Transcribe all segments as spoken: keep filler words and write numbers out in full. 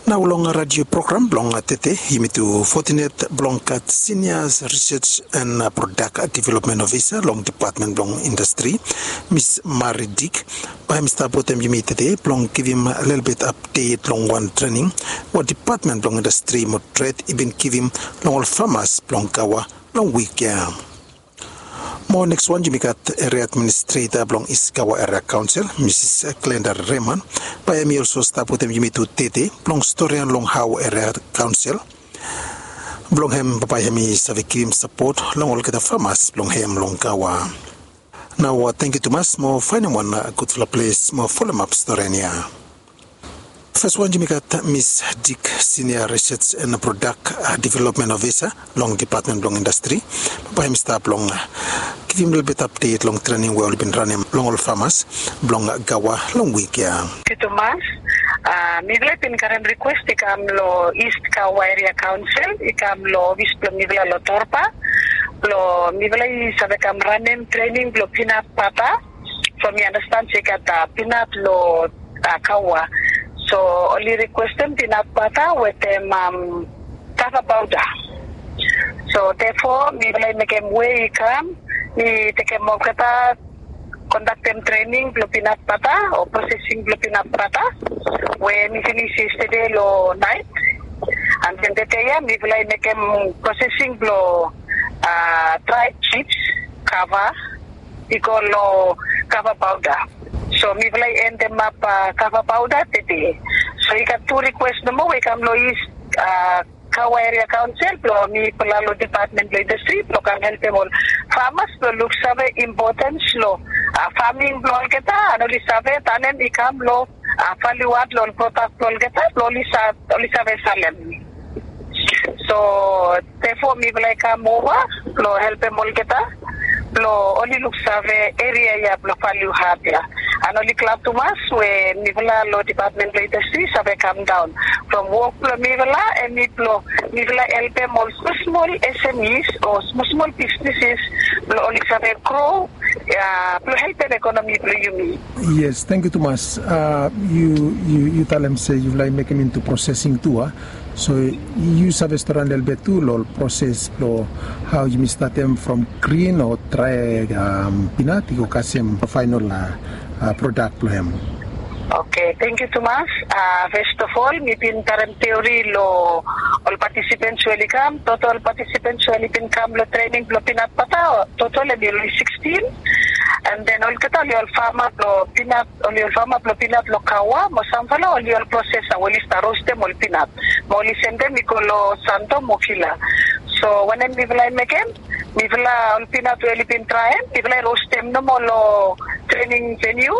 Nao long radio program blong tede, yumi tu fotinet blong gat Senior Research and Product Development Officer long Depatmen blong Indastri, Miss Mari Dik. Bae hem i stap wetem yumi tede blong givim lelebet apdet long wan trening we Depatmen blong Indastri mo Tred i bin givim long ol famas blong Gaua long wik ya. Mo nekswan yumi gat Eria Administreta blong East Gaua Eria Kaonsel, Misis Glenda Reman. Bae hem i olso stap wetem yumi tu tede blong storian long hao Eria Kaonsel blong hem bambae hem i save givim sapot long olgeta famas blong hem long Gaua. Nao tangkiu tumas mo faenem wan gudfala ples mo folomap storian ya. Faswan yumi gat Miss Dik, Senior Research and Product Development Officer long Depatmen blong Indastri. Bae hem i stap blong givim lelebet apdet long trening we oli bin ranem long ol famas blong Gaua long wik ya. Tangkiu tumas. Mifala i bin karem rikwes i kam long East Gaua Eria Kaonsel, i kam long ofis blong mifala long Torba blong mifala i save kam ranem trening blong pinat bata. So mi andastan se i gat pinat long Gaua. So oli rikwestem pinat bata wetem kava pauda. So therefore mifala i mekem we i kam, mi tekem olgeta, kondaktem trening blong pinat bata o prosesing blong pinat bata we mi finis yestede long naet. And then tede ya mifala i mekem prosesing blong drai chips, kava, i go long kava pauda. So mifala i endemap kava pauda tede. So i gat tu rikwes nomo we i kam long East Gaua Eria Kaonsel blong mifala long Depatmen blong Indastri blong kam helpem ol famas blong luksave impotens long faming blong olgeta, and oli save tanem i kam long valiu ad long ol prodak blong olgeta blong oli save salem. So therefore mifala i kam ova blong helpem olgeta blong oli luksave eria ya blong valiu ad ya. And oli glad tumas we mifala long Depatmen blong Indastri save kamdaon from wok blong mifala, hemi blong mifala helpem ol smosmol S M Es o smosmol bisneses blong oli save gro blong helpem ekonomi blong yumi. Yes, tangkiu tumas. Yu talem se yufala i mekem into prosesing tu, a? So yu save storian lelebet tu long ol proses blong hao yumi statem from grin o drae pinat i go kasem faenol prodak blong hem. Oke, tangkiu tumas. Fes of ol mi bin karem teori long ol patisipens we oli kam, totol patisipens we oli bin kam long trening blong pinat bata, totol hemi oli sikstin. And then olgeta oli ol fama blong pinat, oli ol fama blong pinat long Gaua mo samfala oli ol prosesa we oli stap rostem ol pinat mo oli sendem i go long Santo mo Vila. So wanem mifala i mekem, mifala ol pinat we oli bin draem mifala i rostem nomo long trening veniu.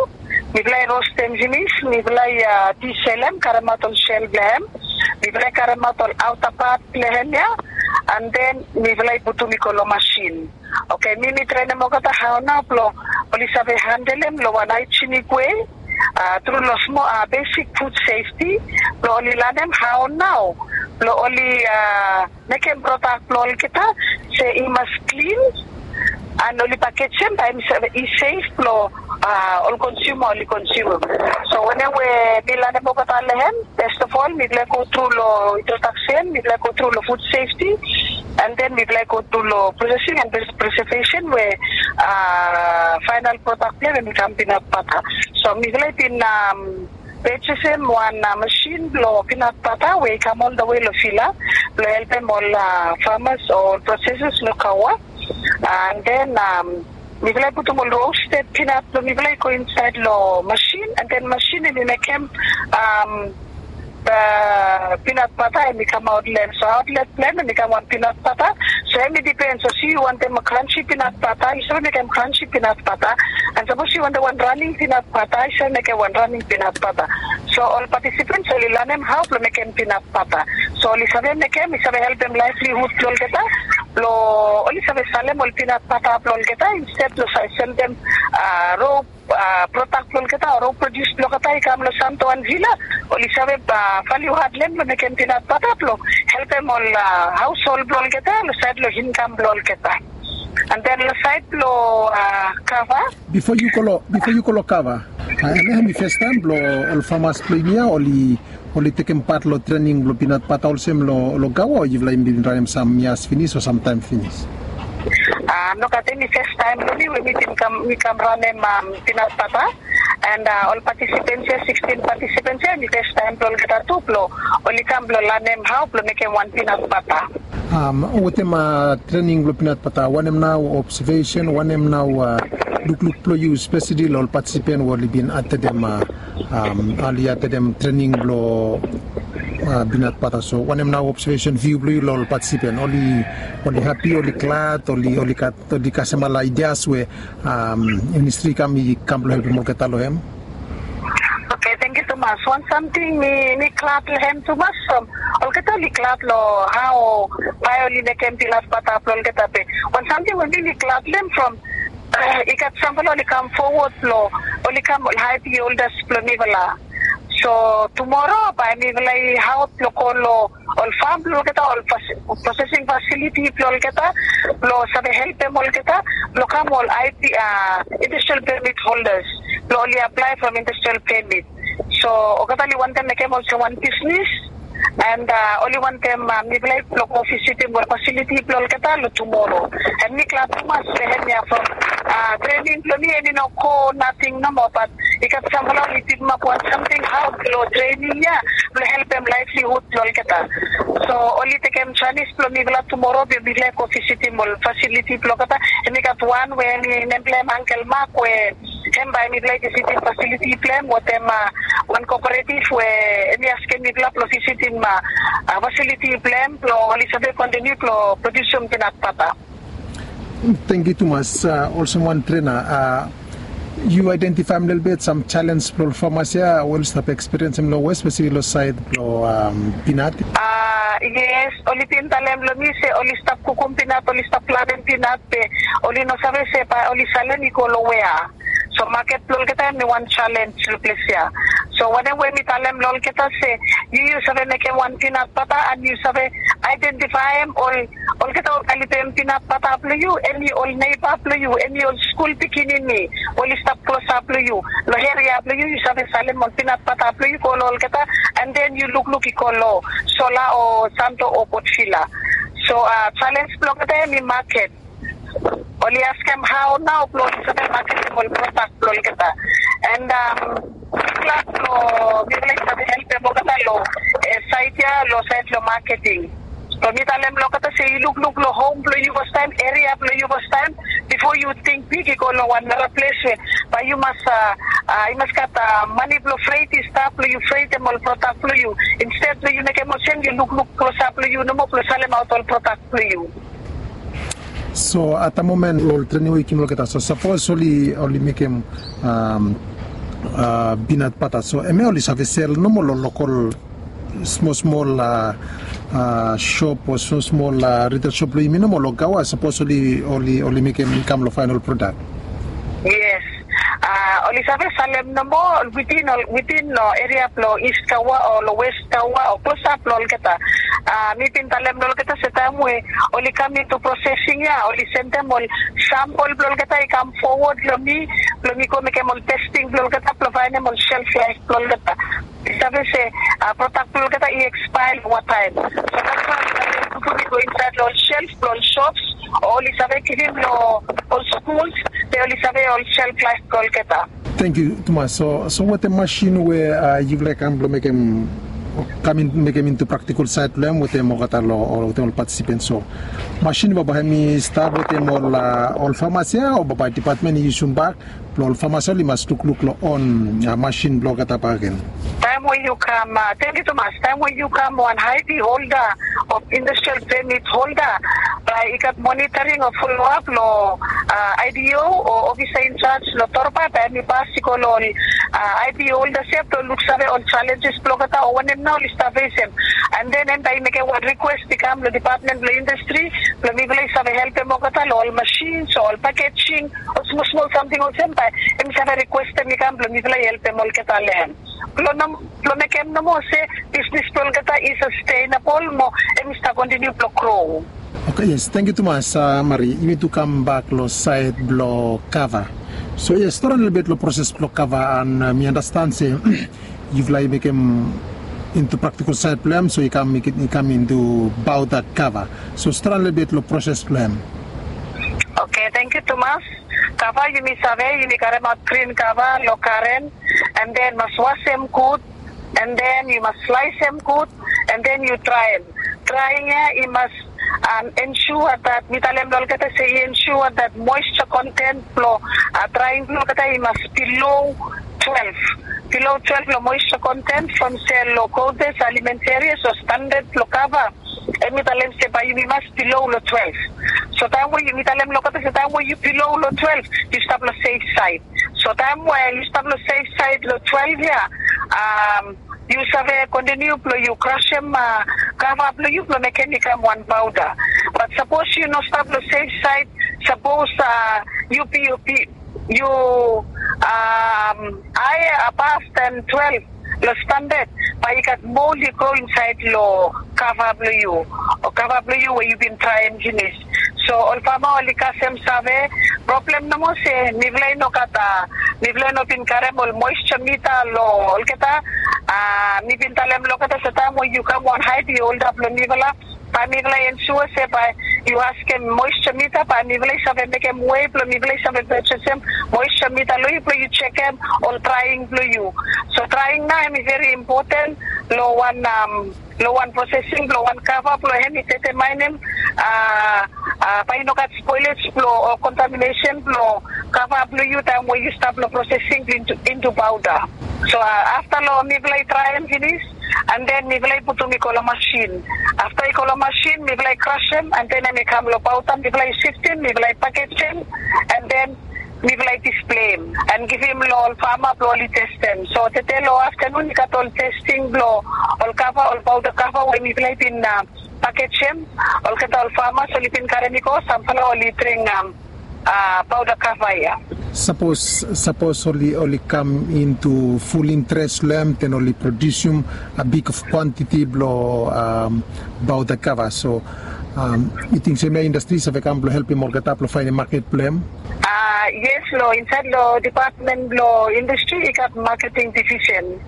Mifala i rostem finis, mifala i diselem, karemaot ol sel blong hem. Mifala i karemaot ol aota pat blong hem ya. And then mifala i putum i go long masin. Oke, mi mi trenem olgeta hao nao blong oli save handelem long wan haejenik wei tru long smol besik fud sefti blong oli lanem hao nao blong oli mekem prodak blong olgeta se i mas klin. And oli pakejem bae i sef blong ol konsiuma oli konsiumum. So wanem we mi lanem olgeta long hem, fes of ol mifala i go tru long introdaksen, mifala i go tru long fud sefti, and then mifala i go tru long prosesing and presevesen we faenal prodak blong hem hemi kam pinat bata. So mifala i bin pejesem wan masin blong pinat bata we i kam oldawe long Vila blong helpem ol famas o ol proseses long Gaua. And then mifala i putum ol rosted pinat blong mifala i go insaed long masin, and then masin hemi mekem pinat bata hemi kamaot long hem. So aotlet blong hem hemi kam wan pinat bata. So hemi dipen, so se yu wantem kransi pinat bata, yu save mekem kransi pinat bata. And sapos yu wantem wan raning pinat bata, yu save mekem wan raning pinat bata. So ol patisipens oli lanem hao blong mekem pinat bata. So oli save mekem, i save helpem laevlihud blong olgeta blong oli save salem ol pinat bata blong olgeta insted blong save sendem rop prodak blong olgeta o rop prodius blong olgeta i kam long Santo and Vila. Oli save valiu ad long hem blong mekem pinat bata blong helpem ol haoshol blong olgeta long saed long inkam blong olgeta. And then lo sait blo kava. Bifo yu go lo bifo yu go lo kava, em ya hemi fes taem blo ol famas blo yumi ya oli oli tekem pat lo trening blo pinat bata olsem lo lo gawa o yufala i bin ranem sam yas finis o samtaem finis? Nogat, hemi fes taem blo mi we mi bin kam mi kam ranem pinat bata. And ol patisipens ya, sikstin patisipens ya, hemi fes taem blo olgeta tu blo oli kam blo lanem hao blo mekem wan pinat bata. Wetem trening blo pinat bata, wanem nao obsevesen, wanem nao lukluk blo yu spesali lo ol patisipen we oli bin atedem oli atedem trening blo pinat bata? So wanem nao obsevesen viu blo yu lo ol patisipen? Oli oli hapi, oli glad, oli oli gat oli kasem ol aidias we ministri i kam i kam blo helpem olgeta lo hem? Oke, tangkiu tumas. Wan samting mi mi glad lo hem tumas from olgeta oli glad lo hao bae oli mekem pinat bata blo olgeta be wan samting we mi mi glad lo hem from i gat samfala oli kam fowod blo oli kam ol haepi oldas blo mifala. So tumora bae mifala i haot blo go lo ol fam blo olgeta, ol prosesing fasiliti blo olgeta, blo save helpem olgeta blo kam ol aepi a industrial pemit holdas blo oli aplae from industrial pemit. So olgeta oli wantem mekem olsem wan bisnis. And oli wantem mifala i blo go visitim ol fasiliti blo olgeta lo tumora. And mi glad tumas we hemia from trening blo mi hemi no go nating nomo, bat i gat samfala oli pikimap wan samting hao blo trening ya blo helpem laevlihud blo olgeta. So oli tekem janis blo mifala tumora be mifala i go visitim ol fasiliti blo olgeta. Hemi gat wan we hemi nem blo hem Angkel Mak we hem bae mifala i visitim fasiliti blo hem wetem wan kooperatif we hemi askem mifala blo visitim fasiliti blo hem blo oli save kontiniu blo produsim pinat bata. Tangkiu tumas. Olsem wan trena, yu aedentifaem lelebet sam jalens blo ol famas ya we oli stap ekspiriensim lo wes spesali lo saed blo pinat? Yes, oli bin talem lo mi se oli stap kukum pinat, oli stap planem pinat be oli no save se bae oli salem i go lo wea. So maket blo olgeta hemi wan jalens lo ples ya. So wanem we mi talem lo olgeta se yu yu save mekem wan pinat bata and yu save aedentifaem ol olgeta oli kalipem pinat bata blo yu, hemi ol neiba blo yu, hemi ol skul pikinini we oli stap klosap lo yu lo eria blo yu, yu save salem ol pinat bata blo yu go lo olgeta. And then yu lukluk i go lo Sola o Santo o Port Vila. So jalens blo olgeta hemi maket. Oli askem hao nao blo oli save maketem ol prodak blo olgeta. And mi glad blo mifala i save helpem olgeta lo saed ya, lo saed blo maketing. Blo mi talem lo olgeta se yu lukluk lo hom blo yu fastaem, eria blo yu fastaem, bifo yu ting big i go lo wan nara ples we bae yu mas yu mas gat mane blo fred i stap blo yu fredem ol prodak blo yu. Insted blo yu mekem olsem yu lukluk klosap lo yu nomo blo salemaot ol prodak blo yu. So at da momen ol trening we yu givim olgeta, so sapos oli oli mekem pinat bata, so hemia oli save sel nomo lo lokol smol smol sop o smol smol ritel sop blo yumi nomo lo Gaua, sapos oli oli oli mekem i kam lo faenol prodak? Yes. Oli save salem nomo witin ol witin lo eria blo Is Gaua o lo Wes Gaua o klosap lo olgeta. Mi bin talem lo olgeta se taem we oli kam intu prosesing ya oli sendem ol sampol blo olgeta i kam fowod lo mi blo mi go mekem ol testing blo olgeta blo faenem ol shelf laef blo olgeta. I save se prodak blo olgeta i ekspaea lo wataem. So that's why oli save put i go insaed lo ol shelf blo ol shops o oli save givim lo ol skuls be oli save ol shelf laef blo olgeta. Tangkiu tumas. So so wetem masin we yufala i kam blo mekem kam in mekem intu praktikol saed blo hem wetem olgeta lo wetem ol patisipens, so masin bambae hem i stap wetem ol ol famas ya o bambae dipatmen i yusum bak blo ol famas ya oli mas lukluk lo on masin blo olgeta bakegen? Taem we yu kam, tangkiu tumas, taem we yu kam wan ID holda o industrial pemit holda, bae i gat monitoring o foloap lo IDO o ofisa injaj lo Torba, bae hem i pas i go lo ol ID holdas ya blo luksave ol jalenjes blo olgeta o wanem nao oli stap fesem. And then hem bae i mekem wan rikwes i kam lo dipatmen blo indastri blo mifala i save helpem olgeta lo ol masins o ol pakejing o smol smol samting olsem, bae hem i save rikwestem i kam blo mifala i helpem olgeta lo hem. Blong mekem nomo se bisnis blong olgeta i sastenabol mo em i stap kontiniu blong gro. Oke, yes, tangkiu tumas, Mari. Yumi tu kambak long saed blong kava. So yes, stori lelebet long proses blong kava, and mi andastan se yufala i mekem intu praktikal saed blong em, so i kam intu bauda kava. So stori lelebet long proses blong em. Oke, tangkiu tumas. Kava yumi save, yumi karemaot grin kava long garen, and then mas wasem gud, and then yu mas slaesem gud, and then yu draem. Draing ya i mas ensure that, mi talem long olgeta se i ensure that moisture content blong draing blong olgeta i mas below twelve. Below twelve long moisture content from se long Gold Base Alimentarius o standard blong kava, em i talem se bae yumi mas below long twelve. So taem we yumi talem long olgeta se taem we yu below long twelve, yu stap long safe side. So taem we yu stap long safe side long twelve ya, yu save kontiniu blong yu krasem kava blong yu blong mekem i kam wan bauda. Bat sapos yu no stap long safe side, sapos yu pi yu pi yu haea above than twelve long standard, bae i gat mol i gro insaed long kava blong yu, o kava blong yu we yu bin draem finis. So ol fama oli kasem save, problem nomo se mifala i no gat, mifala i no bin karem ol moisture mita long olgeta. Mi bin talem long olgeta se taem we yu kam wan haed i holda blong mifala, bae mifala i ensure se bae yu askem moisture mita, bae mifala i save mekem wei blong mifala i save purchasem moisture mita long yu blong yu jekem ol draing blong yu. So draing nao hem i veri impoten long wan, long wan prosesing blong wan kava blong hem i detemaenem bae i no gat spoilage blong o kontaminesen blong kava blong yu taem we yu stap long prosesing intu bauda. So afta long mifala i draem finis, and then mifala i putum i go long masin. Afta i go long masin mifala i krasem, and then hem i kam long bauda, mifala i siftem, mifala i pakejem, and then mifala i displeem and givim long ol fama blong oli testem. So tede long aftanun i gat ol testing blong ol kava, ol bauda kava we mifala i bin pakejem. Olgeta ol famas oli bin karem i go, samfala oli dring bauda kava ya. Sapos sapos oli oli kam intu ful interes long hem, then oli produsim a big of kwantiti blong bauda kava. So yu ting se hemia indastri i save kam blong helpim olgeta blong faenem maket blong hem? Yes, long insaed long depatmen blong indastri i gat maketing divisen.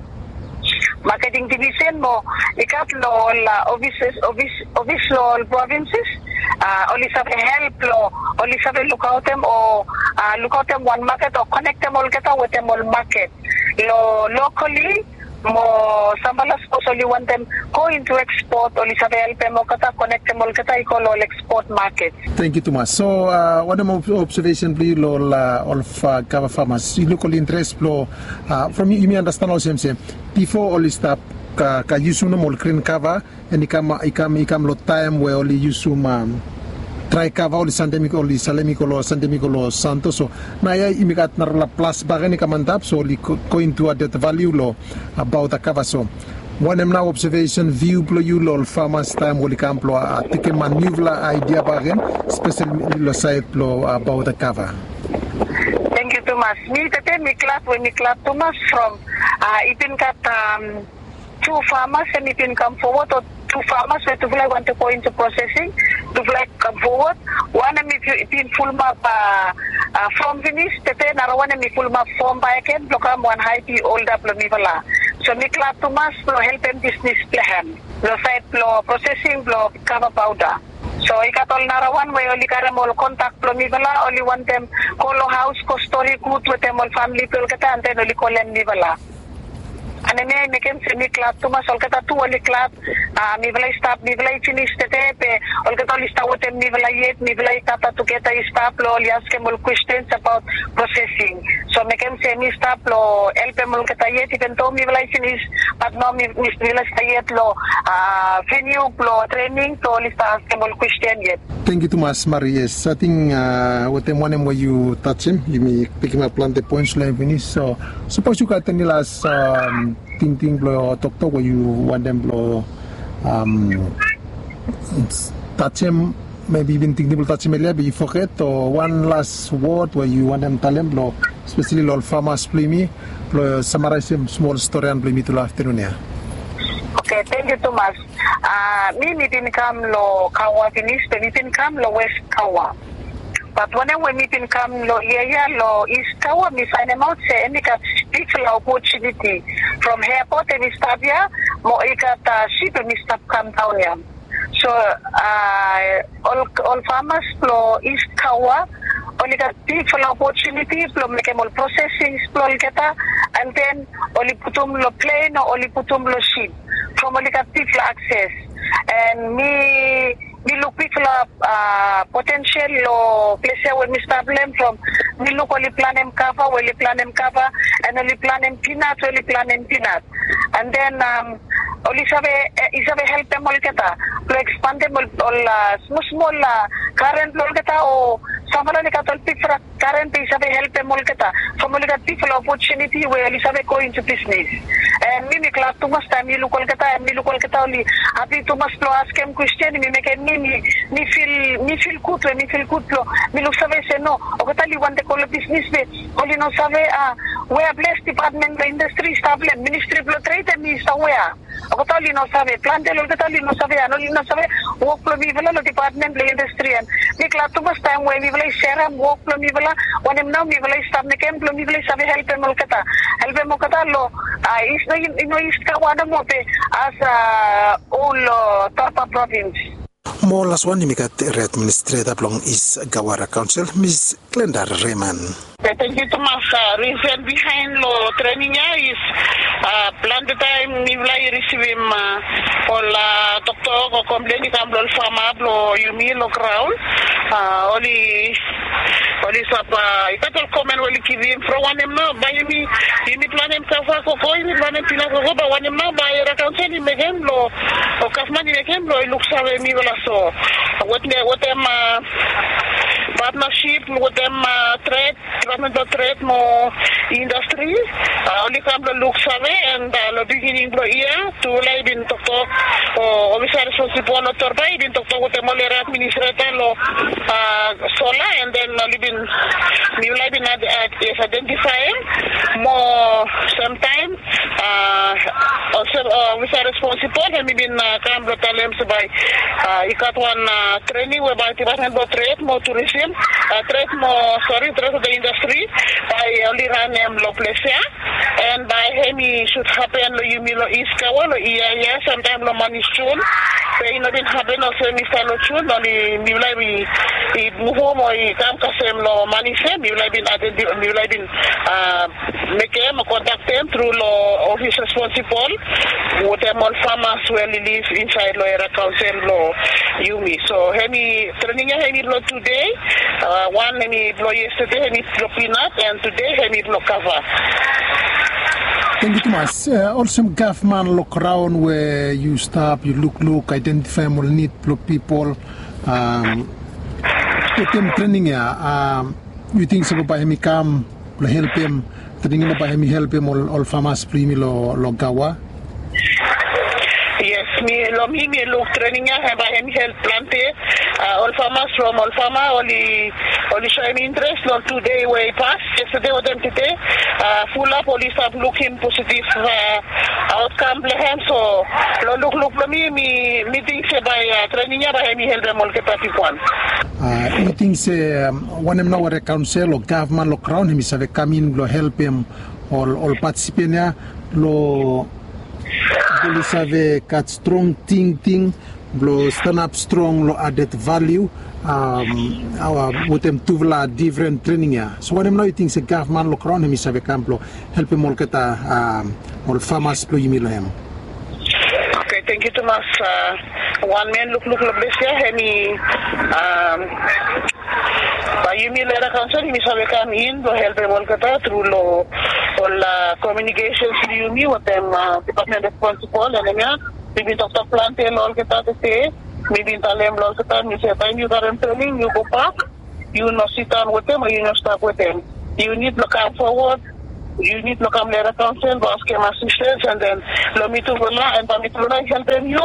Maketing divisen mo i gat long ol ofis, ofis long ol provinses. Oli save help long, oli save lukaotem o lukaotem wan maket o konektem olgeta wetem ol maket long lokali. Mo samfala sapos oli wantem go intu ekspot, oli save helpem olgeta, konektem olgeta i go long ol ekspot maket. Tangkiu tumas. So wanem obsevesen blong yu long ol kava famas? Yu luk ol interes blong, from yumi andastan olsem se bifo oli stap ka yusum nomo ol grin kava, and i kam i kam i kam long taem we oli yusum drae kava, oli sandem i go, oli salem i go long, sandem i go long Santo. So naoia yumi gat narafala plas bakegen i kam antap, so oli go intu adet valiu long bauda kava. So wanem nao obsevesen, viu blong yu long ol famas taem we oli kam blong tekem niufala aedia bakegen, speseli long saed blong bauda kava? Tangkiu tumas. Mi tede mi glad we mi glad tumas from i bin gat tu famas hem i bin kam fowod, o tu famas we tufala i wantem go intu prosesing, tufala i kam fowod. Wan hem i bin fulumap fom finis, tede narawan hem i fulumap fom bakegen blong kam wan haepi holda blong mifala. So mi glad tumas blong helpem bisnis blong hem long saed blong prosesing blong kava bauda. So i gat ol narawan we oli karem ol kontak blong mifala, oli wantem go long haos go stori gud wetem ol famili blong olgeta, and then oli kolem mifala. And hemia i mekem se mi glad tumas, olgeta tu oli glad. Mifala i stap, mifala i finis tede be olgeta oli stap wetem mifala yet, mifala i gat tugeta i stap blong oli askem ol kwestens abaot prosesing. So mekem se mi stap blong helpem olgeta yet, iven do mifala i finis, bat nao mifala i stap yet long veniu blong trening blong oli stap askem ol kwesten yet. Tangkiu tumas, Mari. Yes, ating wetem wanem we yu tajem, yumi pikimap plante poens long hem finis. So sapos yu gat eni las tingting blong toktok we yu wantem blong tajem, mebi yu bin tingting blong tajem elia be yu foget, o wan las wod we yu wantem talem blong Spesali long ol famas blong yumi blong samaraisim smol storian blong yumi tu long aftanun ya. Oke, tengiu tumas. Mi mi bin kam long Kawa pinis be mi bin kam long West Kawa. Bat wanem we mi bin kam long yia ya long East Kawa, mi fainemaot se em i gat bigfala opotuniti from airport em i stap ya, mo i gat sip em i stap kam daon ya. So ol ol famas blong East Kawa oli gat bigfala opotuniti blong mekem ol prosesings blong olgeta, and then oli putum long plen o oli putum long sip from oli gat bigfala akses. And mi mi luk bigfala potensial long ples ya we mi stap long em from mi luk oli planem kava we oli planem kava, and oli planem pinat we oli planem pinat. And then oli save i save helpem olgeta blong ekspandem ol smosmol karen blong olgeta o samfala oli gat ol bigfala karen be i save helpem olgeta from oli gat bigfala opotuniti we oli save go intu bisnis. And mi mi glad tumas taem mi luk olgeta and mi luk olgeta oli hapi tumas blong askem kwestin mi mekem mi mi fil mi fil gud we mi fil gud blong mi luksave se no, olgeta oli wantem go long bisnis be oli no save a wea ples dipatmen blong indastri i stap long em, ministri blong tred em i stap wea. Olgeta oli no save, plante long olgeta oli no save, and oli no save wok blong mifala long dipatmen blong indastri. And mi glad tumas taem we mifala i serem wok blong mifala wanem nao mifala i stap mekem blong mifala i save helpem olgeta, helpem olgeta long a i no East Kawa nomo be as a ol long Torba provins. Mo las wan yumi gat eri administreta blong East Kawa era kaonsel, Miss Glenda Reman. Tengiu tumas. Risen bihaen long trening ya is plante taem mifala i risivim ol toktok o komplen i kam long ol fama blong yumi long graon. Oli oli sap i gat ol komen we oli givim from wanem nao bae yumi yumi planem kava koko yumi planem pinat koko bae wanem nao bae era kaonsel i mekem long o gavman i mekem blong i luksave mifala so wetem wetem patnasip wetem tred, dipatmen blong tred mo indastri. Oli kam blong luksave and long bigining blong yia tufala i bin toktok o ofisa responsibol long Torba i bin toktok wetem ol era administreta long sola and then oli bin mifala i bin aidentifaem mo samtaem olsem ofisa responsibol hem i bin kam blong talem se bae i gat wan trening we bae dipatmen blong tred mo turisim, tred mo sori tred blong indastri bae oli ranem long ples ya. And bae hem i sud hapen long yumi long East Kawa long yia ya samtaem long manis Jun. Be i no bin hapen olsem i stap long Jun, oli mifala i muvum o i kam kasem long manis ya mifala i bin aidenti mifala i bin mekem o kontaktem tru long ofis responsibol wetem ol famas we oli liv insaed long era kaonsel blong yumi. So hem i trening ya hem i blong tude, wan hem i blong yestade hem i blong pinat, and tude hem i blong kava. Tengiu tumas. Olsem gavman long graon we yu stap yu lukluk aidentifaem ol nid blong pipol wetem trening ya, yu ting se bae hem i kam blong helpem, trening ya bae hem i helpem ol famas blong yumi long Kawa? Yes, mi long mi mi luk trening ya hem bae hem i help plante. Ol famas from ol fama oli oli soem interes long tude we i pas, yestade wetem tude. Fulap oli stap lukim positiv aotkam blong hem. So long lukluk blong mi mi mi ting se bae trening ya bae hem i helpem olgeta pipol. Yu ting se wanem nao we era kaonsel o gavman long graon hem i save kam in blong helpem ol ol patisipen ya long oli save gat strong tingting blong stanap strong long adet valiu wetem tufala difren trening ya? So wanem nao yu ting se gavman long graon hem i save kam blong helpem olgeta ol famas blong yumi long hem? Oke, tengiu tumas. Wan men lukluk long ples ya hem i bae yumi long era kaonsel yumi save kam in blong helpem olgeta tru long ol komiunikesens blong yumi wetem dipatmen responsibol. Wanem ya mi bin toktok plante long olgeta tede. Mi bin talem long olgeta mi se taem yu karem trening yu gobak, yu no sidaon wetem o yu no stap wetem. Yu nid blong kam fowod, yu nid blong kam long era kaonsel blong askem asistens, and then long mi tufala and bae mi tufala i helpem yu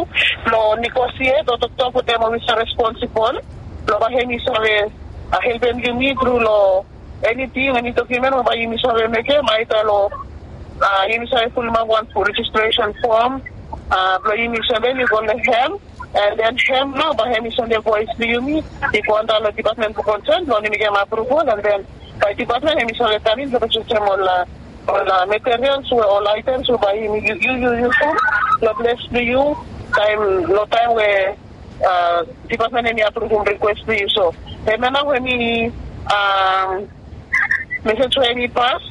blong negosiet o toktok wetem ofisa responsibol blong bae hem i save helpem yumi tru long Eniting, eni dokumen we bae yumi save mekem, aeda lo yumi save pulimap wan rejistresen fom blong yumi sendem i go long hem. And then hem nao bae hem i sendem voes blong yumi i go antap long dipatmen blong konsen blong yumi mekem apruval, and then bae dipatmen hem i save kam in blong rejistrem ol ol materials we ol aetems we bae yumi yu yu yu yusum long ples blong yu taem long taem we dipatmen hem i apruvum rikwes blong yu. So hem ya nao we mi mesej we hem i pas,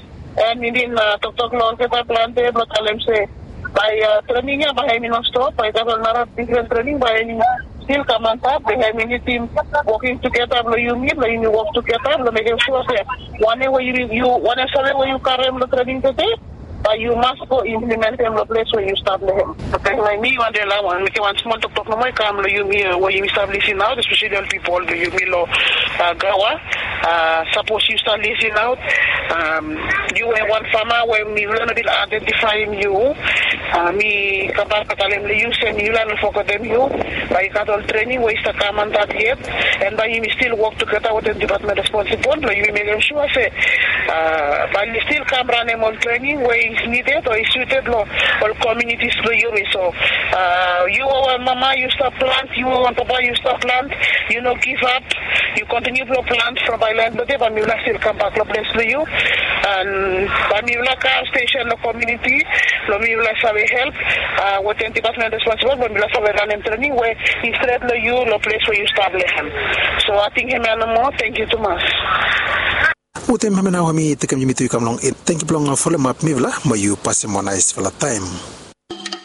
and mi bin toktok long olgeta plante blong talem se bae trening ya bae hem i no stop, bae i gat ol nara difren trening bae hem i stil kam antap. Bae hem i nidim woking tugeta blong yumi blong yumi wok tugeta blong mekem sua se wanem we yu wanem save we yu karem long trening tede bae yu mas go implimentem long ples we yu stap long hem. Oke, mi wande la wan mekem wan smol toktok nomo i kam long yumi we yumi stap lisin aot, espeseli ol pipol blong yumi long Gawa. Sapos yu stap lisin aot, yu we wan fama we mifala no bin aidentifaem yu, mi kambak blong talem long yu se mifala no fogetem yu. Bae i gat ol trening we i stap kam antap yet, and bae yumi stil wok tugeta wetem dipatmen responsibol blong yumi mekem sua se bae yumi stil kam ranem ol trening we i nided o i suted long ol komunitis blong yumi. So yu we wan mama yu stap plant, yu we wan papa yu stap plant, yu no givap, yu kontiniu blong plant from bae laen blong dei bae mifala stil kambak long ples blong yu. And bae mifala kam stesen long komuniti blong mifala save help wetem dipatmen responsibol blong mifala save ranem trening we i stret long yu long ples we yu stap long hem. So ating hemia nomo, tangkiu tumas. Wetem hemia nao mi tekem yumi tu i kam long en. Tangkiu blong folomap mifala mo yu pasem wan naesfala taem.